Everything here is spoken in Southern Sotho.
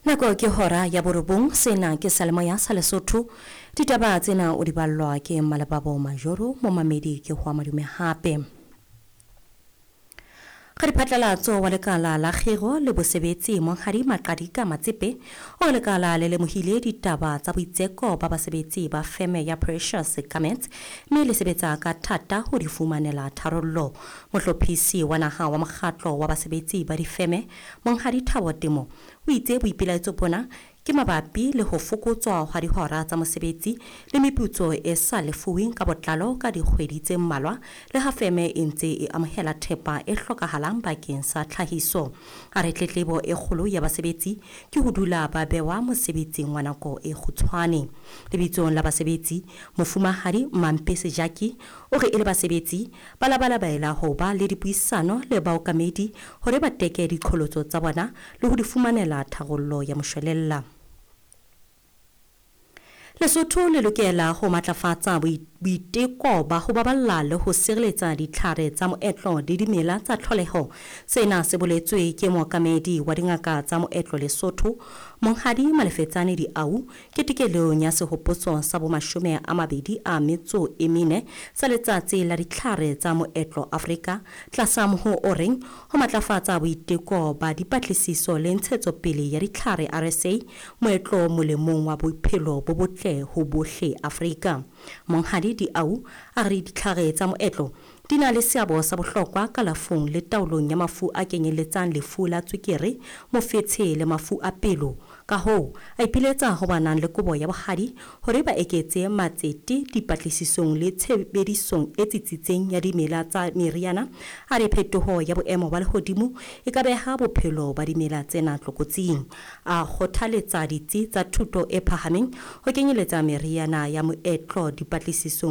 Nako ke hora ya borobong. Sena ke Salemoya sa Lesotho. Ditaba tsena o di ballwa ke Malebabo Majoro. Momamedi ke ho madume hape. Radiphatlalatso wa lekala la kgiro le bosebetsi Monghadi Maqadika Matsepe o lekala le lemohile ditaba tsa boitseko ba basebetsi ba feme ya Precious Garments mme le sebetsa ka thata ho di fumanela tharollo. Mohlophisi wa naha wa mokgatlo wa basebetsi ba difeme Monghadi Thabo Temo o itse boipelaetso bona ke mabapi le ho fokotswa hwa dihora tsa mosebetsi le meputso e sa lefuweng ka botlalo ka dikgwedi tse mmalwa le ha feme e ntse e amohela thepa e hlokahalang bakeng sa tlhahiso. A re tletlebo e kgolo ya basebetsi ke ho dula ba bewa mosebetsing wa nako e kgutshwane. Lebitsong la basebetsi, Mofumahadi Mampe Sejaki o re e le basebetsi ba labalabela ho ba le dipuisano le baokamedi hore ba teke diqholotso tsa bona le ho di fumanela tharollo ya moshwelella. Lesotho le lokela ho matlafatsa boiteko ba ho baballa le ho sireletsa ditlhare tsa moetlo le dimela tsa tlholeho. Sena se boletswe ke mookamedi wa dingaka tsa moetlo Lesotho, Monghadi Malefetsane Diau, ketekelong ya sehopotso sa bomashome a mabedi a metso e mene sa letsatsi la ditlhare tsa moetlo Afrika, tlasa moho o reng ho matlafatsa boiteko ba dipatlisiso le ntshetsopele ya ditlhare RSA moetlo molemong wa bophelo bo botle ho bohle Afrika. Monghadi Diau a re ditlhare tsa moetlo di na le seabo sa bohlokwa kalafong le taolong ya mafu a kenyelletsang lefu la tswekere, mofetshe le mafu a pelo. Ka hoo, a ipiletsa ho ba nang le kobo ya bohadi hore ba eketse matsete dipatlisisong le tshebedisong e tsitsitseng ya dimela tsa meriana. A re phetoho ya boemo ba lehodimo e ka beha bophelo ba dimela tsena tlokotsing. A kgothaletsa ditsi tsa thuto e phahameng ho kenyeletsa meriana ya moetlo dipatlisisong.